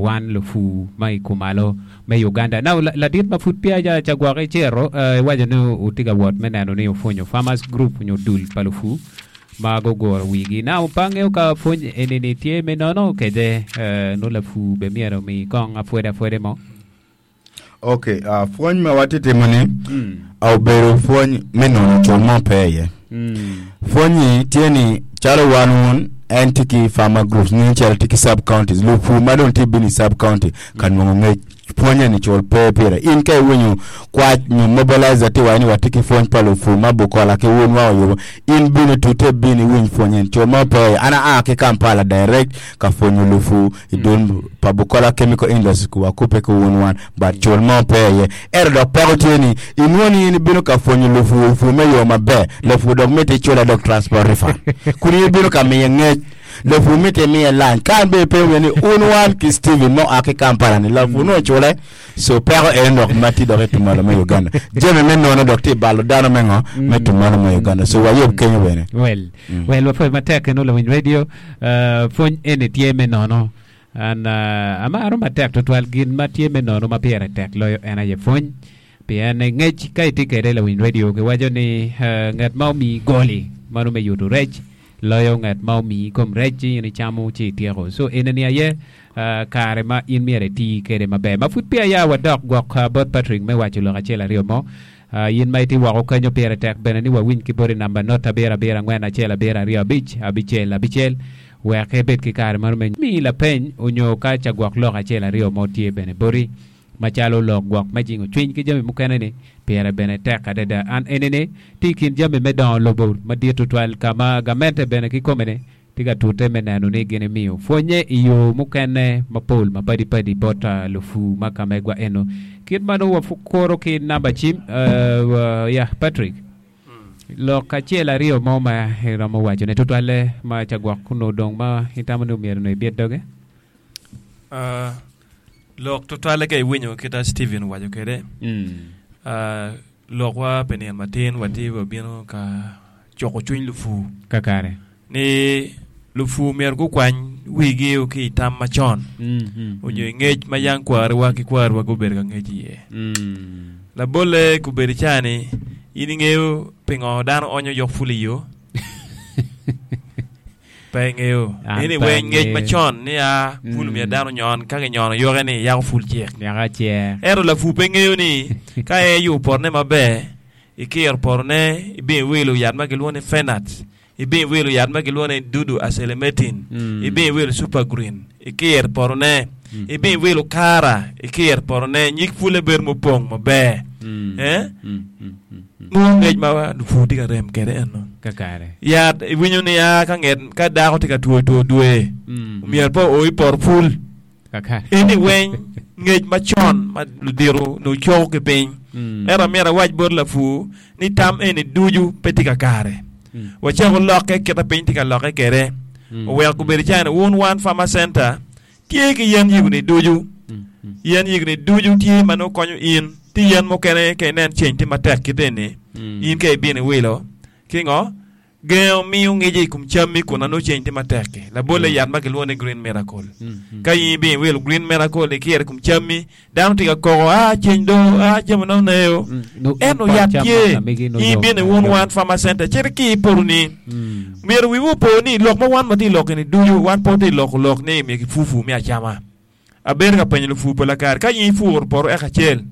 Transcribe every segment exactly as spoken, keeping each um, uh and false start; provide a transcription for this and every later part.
wan lupu ma i kumalo me Uganda. Now ladit ma pud peya ca gwok icito iwaco ni wutye ka wot me neno ni wupwonyo farmers group nyo dul pa lupu ma guguro wigi. Now pe angeyo ka pwony eni-ni tye me nono kede nongo lapur bene myero omi kong apwode apwode mo. Ok, uh, pwony ma watye timo-ni obedo pwony me nono cul mo pe iye. Pwony-nyi tye ni calo wan wun en tye ki farmer groups nen calo tye ki sub counties lupur ma dong tye bino i sub county ka nongo ngec pwonye ni cul pe pire. In ka iwinyo kwac nyo mobilizer tye waco ni watye ki pwony pa lupur ma Bukola ki wun wa oyubo in bino itute bin iwiny pwony eni cul mo pe iye. An aa ki Kampala direct ka pwonyo lupur i dul pa Bukola Chemical Industries wakubbe ki wun wan but cul mo pe iye. Ento dok peko tye ni inwongo ni in ibino ka pwonyo lupur pur me yo maber lapur dok miti icule dok transport refund kun in ibino ka miye ngec lapur miti imiye lunch ka an bene pe iwinyo ni un wan ki Steven ma oa ki Kampala ni lapur nongo ocule so peko en dok ma tye dok i tumalo me Uganda jami me nono dok tye balo dano me ngo me tumalo me Uganda so wayub kenyo bene. Well, well wapwoyo matek eno lawiny radio uh, pwony eni tye me nono an uh, amaro matek tutwal gin ma tye me nono ma pire tek loyo en aye pwony pien ngec ka itye kede lawiny radio kiwaco ni uh, nget ma omiyi goli mano me yuto rec loyo nget ma omiyi kom rec ci in icamo ci ityeko so enini aye uh, kare ma in myero iti kede maber ma pud peya ya wadok gwok uh, bot Patrick me waco lok acel aryo mo uh, in ma itye woko kenyo pire tek bene ni wawiny ki boti namba not abiro abiro angwen acel abiro aryo abic abicel abicel wek ebed ki kare mano me miyi lapeny onyo ka ca gwok lok acel aryo mo tye bene boti macalo lok gwok me jingo cwiny ki jami mukene ni pire bene tek adada an enini tye i kin jami me dongo lobo madit tutwal ka ma gamente bene kikome-ni tye ka tute me neno ni gin imiyo pwonye i yo mukene mapol mapadipadi bot uh, lupu ma ka megwa eno kit ma nongo wakuro ki namba cim uh, uh, ya Patrick lok acel aryo mo ma iromo wacone tutwalle ma ca gwok onongo dong ma itamo ni myero onongo ibit doge Uh, lok tutwalle ka iwinyo kita Steven owaco kwede mm. uh, lokwa pi nino matin watye wabino ka cuko cwiny lupur kakare ni lupur myero gukwany wigi ki i tam macon mm, mm, onyo i ngec ma yang kwariwa ki kwariwa gubedo ka ngec iye mm. labolle kobedo cani in ingeyo pingo dano onyo yok pul i yo pe ingeyo An eni pe weng ngec angeyo. macon ni a pul Mm. myero dano nyon ka kinyono yoke ni yako pul cek Nyaka cer ento lapur pe ngeyo ni ka en yubo potone maber ikiro potone ibino iwilo yat ma kilwongo ni fenat ibino iwilo yat ma kilwongo ni dudu acelemetin Mm. ibino iwilo super green ikiro potone ibino iwilo kara ikiro potone nyig pule bedo mupong maber Mm. Eh? Mm, mm, mm, mm. Nongo ngec ma lupur tye ka rem kede eno kakare yat iwinyo ni a ka nget ka dako tye ka two two dwe Mm, myero pe o i poto pul kakare eni weng ngec macon ma ludito nongo coko ki piny Mm. ento myero awac bot lapur ni tam eni ducu pe tye kakare Mm. wacako lokke kita piny tye ka lokke kede Mm. oweko obedo cani wun wan farmer center tye ki yen yigoni ducu Mm, mm. yen yigoni ducu tye ma nongo konyo in tye yen mukene ka inen ceng tye matek kite eni Mm. in ka ibino iwilo ki ngo gengo miyo ngico i kom cammi kun na nongo ceng tye matek-ki labolle yat ma kilwongo ni green miracle Mm, mm. ka in ibino iwilo green miracle ikiro i kom cammi dano tye ka koko a ceng do a jami na oneo Mm. No- ento pot yat cam tye ma megi no in yom, ibino i wun yom. wan farmer center cit ki i potoni Mm. myero wiwu opo ni lok ma wan watye loko ni ducu wan pe watye loko lok ni myero kipupu me acama abedo ka penyo lupur pol kare ka in ipuro poto eka acel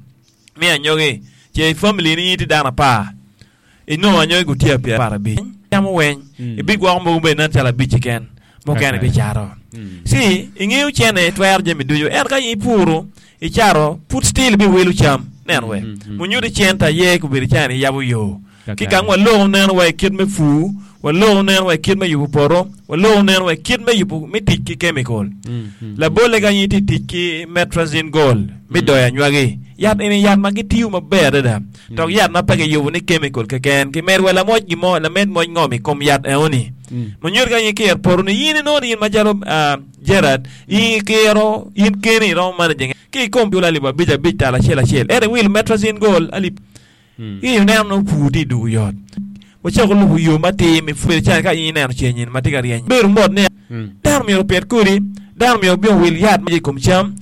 me anyogi ce i family ni in tye dano apar inongo anyogi gutiya pyera apar abic camo weng Mm. ibigwoko mogo bene nen calo abic keken mukene Kakare. ibicato Mm. ci ingeyo cene twero jami ducu ento ka in ipuro icato pud still ibiwilo cam neno we Mm, mm, munyuto cente aye kobedo cani yabo yo ki Kakare. kang waloko neno wa i kit me pur waloko neno wa i kit me yubo poto waloko neno wa i kit me yubo me tic ki chemical Mm, mm. labolle ka in itye tic ki metribuzin gold me doyo anywagi yat eni yat ma gitiyo maber adada dok yat ma pe kiyubo ni chemical keken kimedo wa lamoc gimo lamed moc ngom i kom yat enoni Mm. munyuto ka in ikiro poto ni in inongo ni in macalo uh, Gerard in ikiro in keni iromo managing ki i kom cul alip abic abic tal acel acel ento iwilo metribuzin gold alip Mm. ki ineno nongo pur tye i dugo yot wacako lubo yo matir me pur cani ka in ineno ceng ma tye ka ryeny bedo mot ni Mm. dano myero opit kodi dano myero obin owil yat ma i kom cam